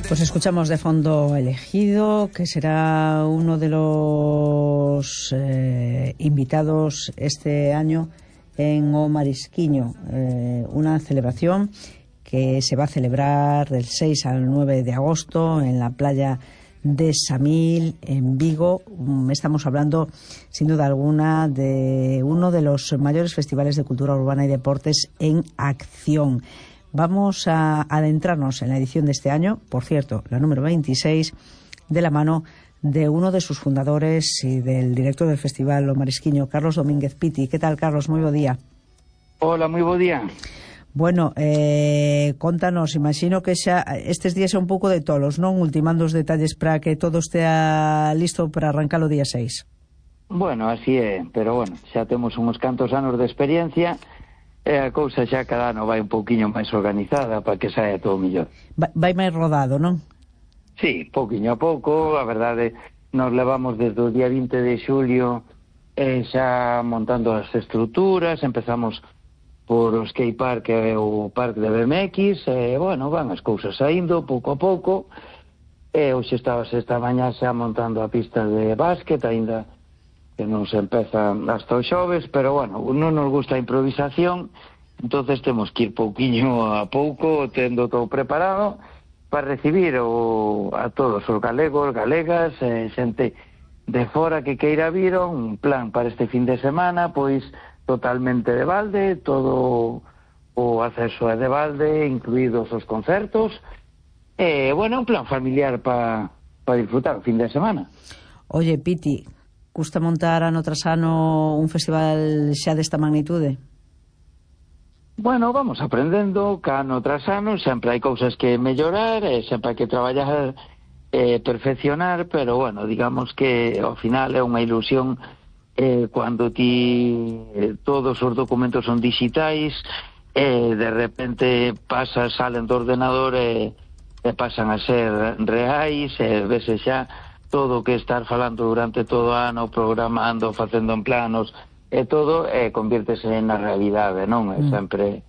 Pues escuchamos de fondo Elegido, que será uno de los invitados este año en O Marisquiño, una celebración que se va a celebrar del 6 al 9 de agosto en la playa de Samil, en Vigo. Estamos hablando, sin duda alguna, de uno de los mayores festivales de cultura urbana y deportes en acción. Vamos a adentrarnos en la edición de este año, por cierto, la número 26, de la mano de uno de sus fundadores y del director del Festival O Marisquiño, Carlos Domínguez Piti. ¿Qué tal, Carlos? Moi bo día. Hola, moi bo día. Bueno, contanos, imagino que xa estes días é un pouco de tolos, non? Ultimando os detalles para que todo estea listo para arrancar o día 6. Bueno, así é, pero bueno, xa temos uns cantos anos de experiencia e a cousa xa cada ano vai un pouquiño máis organizada para que saia todo mellor. Vai máis rodado, non? Sí, pouquiño a pouco, a verdade, nos levamos desde o día 20 de xulio xa montando as estruturas, empezamos por o skate park e o parque de BMX, e, bueno, van as cousas saindo pouco a pouco, e hoxe estabas esta mañá xa montando a pista de básquet, aínda que non se empeza hasta os xoves, pero, bueno, non nos gusta a improvisación, entonces temos que ir pouquiño a pouco, tendo todo preparado, para recibir a todos os galegos, galegas, xente de fora que queira vir, un plan para este fin de semana, pois totalmente de balde, todo o acceso é de balde, incluídos os concertos, e, bueno, un plan familiar para disfrutar o fin de semana. Oye, Piti, custa montar ano tras ano un festival xa desta magnitude? Bueno, vamos aprendendo, que ano tras ano, sempre hai cousas que mellorar, sempre hai que traballar, perfeccionar, pero, bueno, digamos que ao final é unha ilusión cando todos os documentos son digitais, de repente salen do ordenador e pasan a ser reais, vese xa todo o que estar falando durante todo o ano, programando, facendo en planos e todo, convírtese na realidade, non? É sempre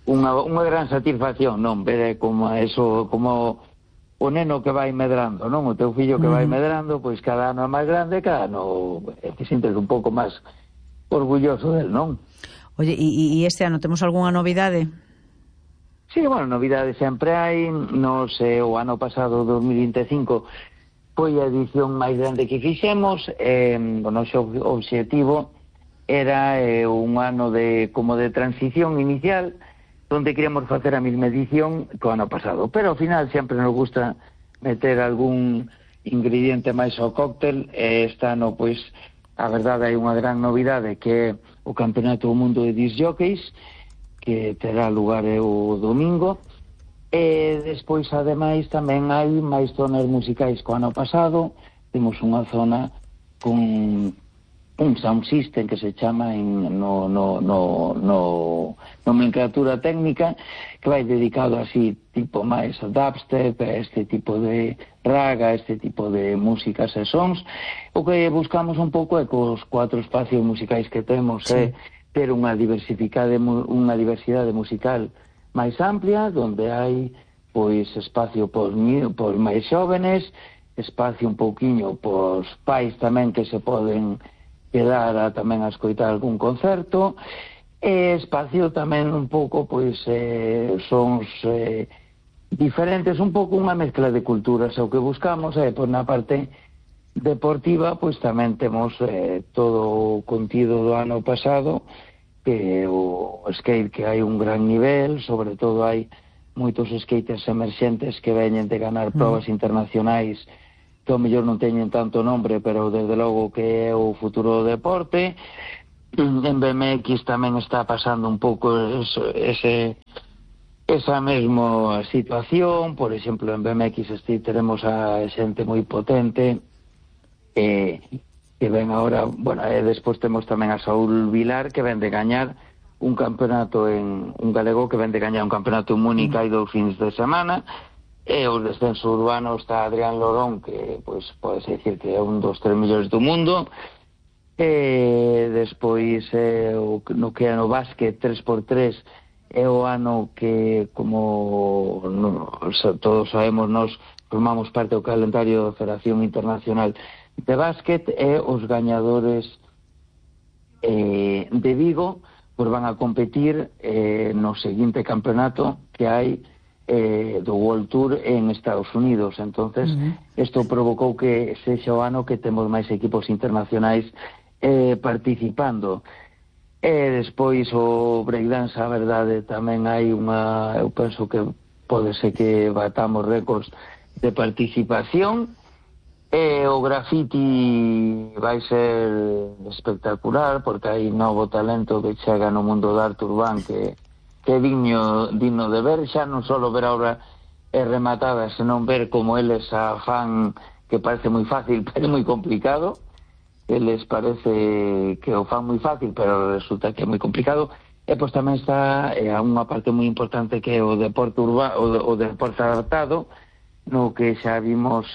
unha gran satisfacción, non? Ver como eso, como o neno que vai medrando, non? O teu fillo que vai medrando, pois cada ano é máis grande, cada ano te sintes un pouco máis orgulloso del, non? Oye, e este ano temos algunha novidade? Sí, bueno, novidades sempre hai. Nos, o ano pasado, 2025, foi a edición máis grande que fixemos. O noso obxectivo era un ano como de transición inicial, donde queríamos facer a mesma edición que o ano pasado, pero ao final sempre nos gusta meter algún ingrediente máis ao cóctel, e este ano, pois, a verdade, hai unha gran novidade, que é o Campeonato do Mundo de Disc Jockeys, que terá lugar o domingo, e despois, ademais, tamén hai máis zonas musicais que o ano pasado. Temos unha zona con un sound system que se chama no nomenclatura técnica, que vai dedicado así tipo máis a dubstep, a este tipo de raga, a este tipo de músicas e sons. O que buscamos un pouco é que os 4 espacios musicais que temos é ter unha diversidade musical máis amplia, donde hai pois espacio por máis xóvenes, espacio un pouquiño por pais tamén que se poden quedar tamén a escoitar algún concerto, e espacio tamén un pouco, pois, sons diferentes, un pouco unha mezcla de culturas. O que buscamos é, pois, na parte deportiva, pois tamén temos todo o contido do ano pasado, que o skate, que hai un gran nivel, sobre todo hai moitos skaters emerxentes que veñen de ganar probas internacionais, que ao mellor non teñen tanto nombre, pero desde logo que é o futuro do deporte. En BMX tamén está pasando un pouco esa mesma situación. Por exemplo, en BMX teremos a xente moi potente que ven agora, bueno, e despois temos tamén a Saúl Vilar, que ven de gañar un campeonato un galego que ven de gañar un campeonato en Múnich hai 2 fins de semana. E o descenso urbano está Adrián Lorón, que, pois, pode decir que é un dos 3 millóns do mundo. E despois, no que é no básquet 3x3, é o ano que, como todos sabemos, nós formamos parte do calendario da Federación Internacional de Básquet, e os gañadores de Vigo pues van a competir no seguinte campeonato que hai do World Tour en Estados Unidos. Entonces, isto provocou que sexa o ano que temos máis equipos internacionais participando. E despois o breakdance, a verdade, tamén hai unha, eu penso que pode ser que batamos récords de participación. E o graffiti vai ser espectacular, porque hai novo talento que chega no mundo da arte urbán que é digno de ver, xa non só ver a obra rematada, senón ver como eles a fan, que parece moi fácil, pero é moi complicado. Eles parece que o fan moi fácil, pero resulta que é moi complicado. E pois tamén está unha parte moi importante que é o deporte urbano, o deporte adaptado, no que xa vimos,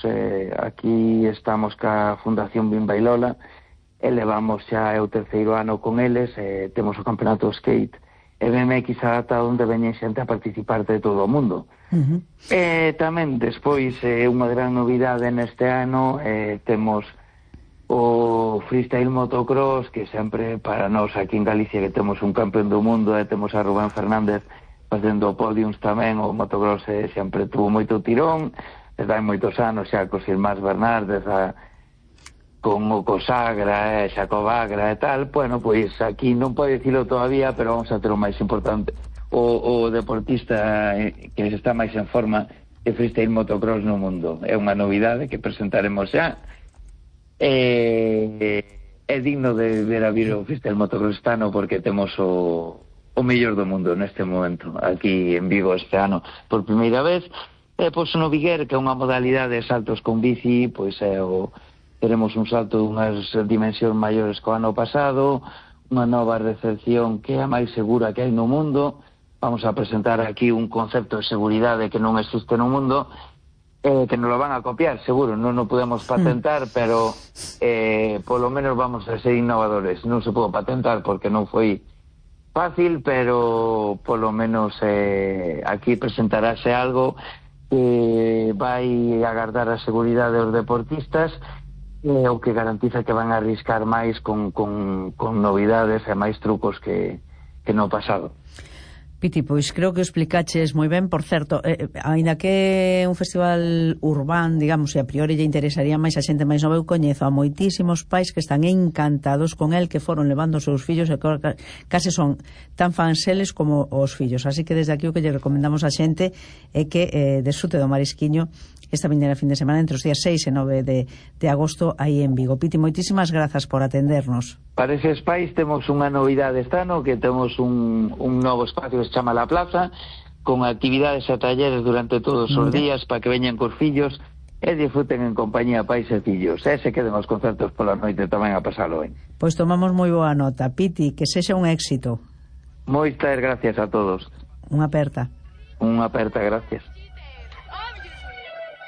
aquí estamos ca Fundación Bimbailola, e levamos xa o terceiro ano con eles, temos o campeonato skate e BMX adaptado, onde veñen xente a participar de todo o mundo. E tamén despois unha gran novidade neste ano, temos o freestyle motocross, que sempre para nós aquí en Galicia, que temos un campeón do mundo, e temos a Rubén Fernández facendo podiums tamén. O motocross sempre tuvo moito tirón, desde hai moitos anos xa cos irmáns Bernardes, con o Cosagra, Xacob Agra e tal. Bueno, pois aquí non pode dicilo todavía, pero vamos a ter o máis importante, o deportista que está máis en forma de freestyle motocross no mundo. É unha novidade que presentaremos xa. É digno de ver a vir o freestyle motocross este ano, porque temos o mellor do mundo neste momento aquí en Vigo este ano por primeira vez. E pois no Viguer, que é unha modalidade de saltos con bici, pois teremos un salto dunhas dimensións maiores que o ano pasado, unha nova recepción que é a máis segura que hai no mundo. Vamos a presentar aquí un concepto de seguridade que non existe no mundo, que nos lo van a copiar, seguro, non o podemos patentar, pero polo menos vamos a ser innovadores. Non se pode patentar porque non foi fácil, pero polo menos aquí presentarase algo que vai agardar a seguridade dos deportistas, o que garantiza que van a arriscar máis con novidades e máis trucos que no pasado. Piti, pois creo que o explicaches moi ben. Por certo, aínda que é un festival urbán, digamos, e a priori lle interesaría máis a xente máis nova, eu coñezo a moitísimos pais que están encantados con el, que foron levando os seus fillos e case son tan fans eles como os fillos. Así que desde aquí o que lle recomendamos a xente é que desfrute do Marisquiño esta vindeira fin de semana entre os días 6 e 9 de agosto aí en Vigo. Piti, moitísimas grazas por atendernos. Para eses pais temos unha novidade este ano, que temos un novo espacio que se chama La Plaza, con actividades e talleres durante todos os días para que veñan cos fillos e disfruten en compañía pais e fillos. E se queden os concertos pola noite tamén a pasalo ben. Pois tomamos moi boa nota. Piti, que sexa un éxito. Moitas gracias a todos. Unha aperta. Unha aperta, gracias.